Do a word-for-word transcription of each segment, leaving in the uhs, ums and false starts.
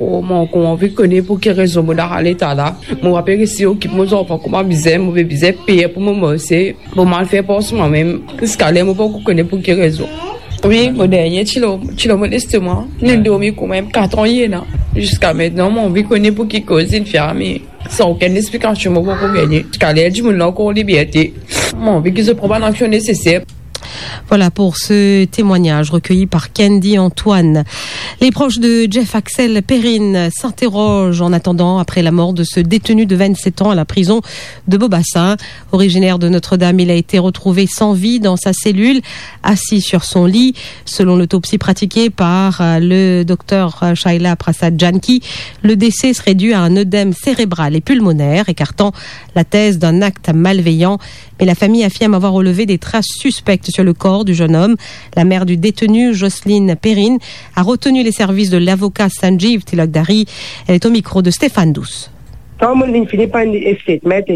Oh, mo, mo anvi kone pou ki rezon mo dan sa leta la. Mo pa pe resi okip mo zanfan kouma bizin, mo pe bizin per pou mo marse, pou mo al fer pars mwa mem. Ziska ler mo pa ankor kone pou ki rezon. Wi, mo dernie ti lor, ti lor mo lestoma. Nou dormi kouma kat an ena. Ziska aster, mo anvi kone pou ki koz inn fer sa, me san okenn explikasion, mo pa ankor gagne. Ziska ler dimoun la ankor an liberte. Mo anvi ki zot pran bann aksion neseser. Voilà pour ce témoignage recueilli par Candy Antoine. Les proches de Jeff Axel Perrine s'interrogent en attendant après la mort de ce détenu de vingt-sept ans à la prison de Beau-Bassin. Originaire de Notre-Dame, il a été retrouvé sans vie dans sa cellule, assis sur son lit. Selon l'autopsie pratiquée par, euh, le docteur, euh, Shaila Prasad Janki, le décès serait dû à un œdème cérébral et pulmonaire, écartant la thèse d'un acte malveillant. Mais la famille affirme avoir relevé des traces suspectes sur le corps du jeune homme. La mère du détenu, Jocelyne Perrine, a retenu les services de l'avocat Sanjeev Tilakdari. Elle est au micro de Stéphane Douce. Kan mo'nn fini pran statement,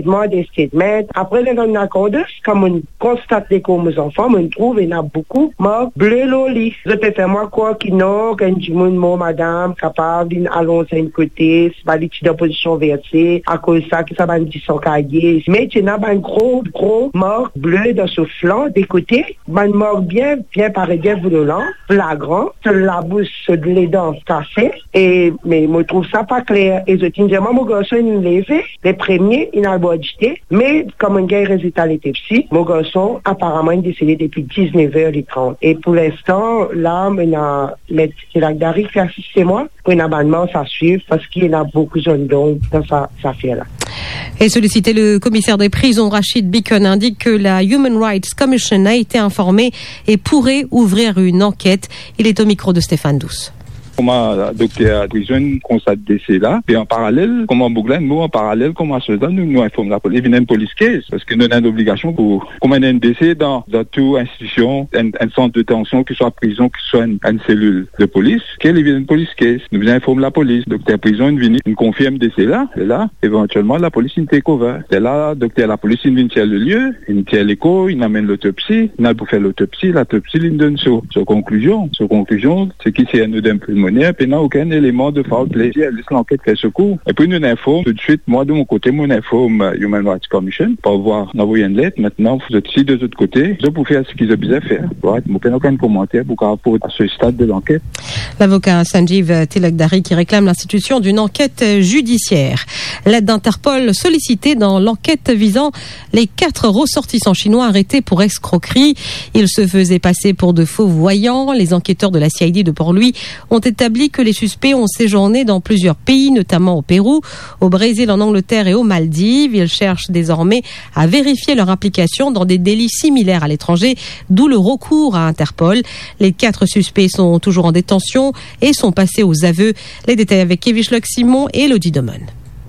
statement, apre, dan lakour, kan mo'nn konstate lekor mo zanfan, mo'nn trouv ena boukou mark ble lor li. Zot pe fer mwa krwar ki non, ki enn dimoun mor, madam, kapav linn alonz enn kote, sipa li ti dan pozision verse, akoz sa ki sa bann disan kaye. Me ti ena bann gro, gro mark ble dan so flan, de kote, bann mark bien, bien pare, bien violan, flagran, so labous, so ledan kase, e, me mo trouv sa pa kler. E zot inn dir mwa mo garson inn leve, le premie, inn al bwar dite, me kan mo'nn gagn rezilta letopsi, mo garson aparaman inn desede depi diznef er le trant. E pou linstan, la, mo ena met Tilakdari ki asiste mwa, pou ena bann mars a swiv, parski ena boukou zonn donb dan sa, sa zafer la. Et sollicité, le commissaire des prisons, Rachid Bikon, indique que la Human Rights Commission a été informée et pourrait ouvrir une enquête. Il est au micro de Stéphane Douce. Kouma dokter prizon konstat dese la, e an paralel, kouma boug la inn mor, an paralel kouma soz la, nou, nou inform lapolis, li vinn enn police case, parski nou ena enn obligasion pou, kouma ena enn dese dan, dan tou institusion, enn, enn sant detansion, ki swa prizon, ki swa enn, enn selil de polis, ke li vinn enn police case, nou bizin inform lapolis. Dokter prizon inn vini, inn konfirm dese la, e la, evantielman, lapolis inn take over. E la, dokter lapolis inn vinn tir le lie, inn tir lekor, inn amenn lotopsi, inn al pou fer lotopsi, lotopsi linn donn so, so konklizion. So konklizion, se ki se enn oedem pilmoner, pena okenn eleman de foul play. Les lanket fer so kour. Epi nou inform toutswit, mwa de mo kote, mo inform, euh, Human Rights Commission, par vwa, nou avoy enn let, aster, zot si de zot kote, zot pou fer seki zot bizin fer. Right? Mo pena okenn komanter pou kapav aport a se stad de lanket. L'avocat Sanjeev Tilakdari qui réclame l'institution d'une enquête judiciaire. L'aide d'Interpol sollicitée dans l'enquête visant les quatre ressortissants chinois arrêtés pour escroquerie. Ils se faisaient passer pour de faux voyants. Les enquêteurs de la C I D de Port-Louis ont établi que les suspects ont séjourné dans plusieurs pays, notamment au Pérou, au Brésil, en Angleterre et aux Maldives. Ils cherchent désormais à vérifier leur implication dans des délits similaires à l'étranger, d'où le recours à Interpol. Les quatre suspects sont toujours en détention et sont passés aux aveux. Les détails avec Kevich Locsimon et Elodie Domon.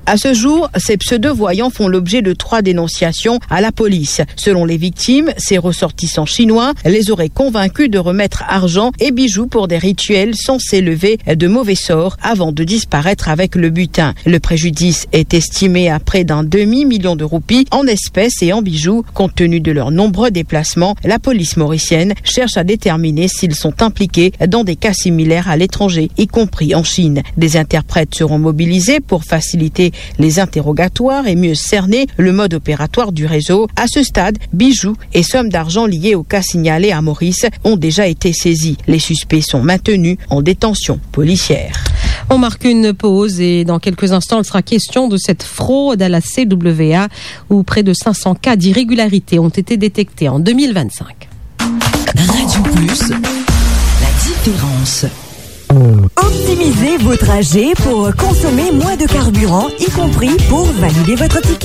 À ce jour, ces pseudo-voyants font l'objet de trois dénonciations à la police. Selon les victimes, ces ressortissants chinois les auraient convaincus de remettre argent et bijoux pour des rituels censés lever de mauvais sorts avant de disparaître avec le butin. Le préjudice est estimé à près d'un demi-million de roupies en espèces et en bijoux. Compte tenu de leurs nombreux déplacements, la police mauricienne cherche à déterminer s'ils sont impliqués dans des cas similaires à l'étranger, y compris en Chine. Des interprètes seront mobilisés pour faciliter les interrogatoires et mieux cerner le mode opératoire du réseau. À ce stade, bijoux et sommes d'argent liés au cas signalé à Maurice ont déjà été saisis. Les suspects sont maintenus en détention policière. On marque une pause et dans quelques instants, il sera question de cette fraude à la C W A où près de cinq cents cas d'irrégularité ont été détectés en deux mille vingt-cinq. Radio Plus, la différence. Optimisez vos trajets pour consommer moins de carburant, y compris pour valider votre ticket.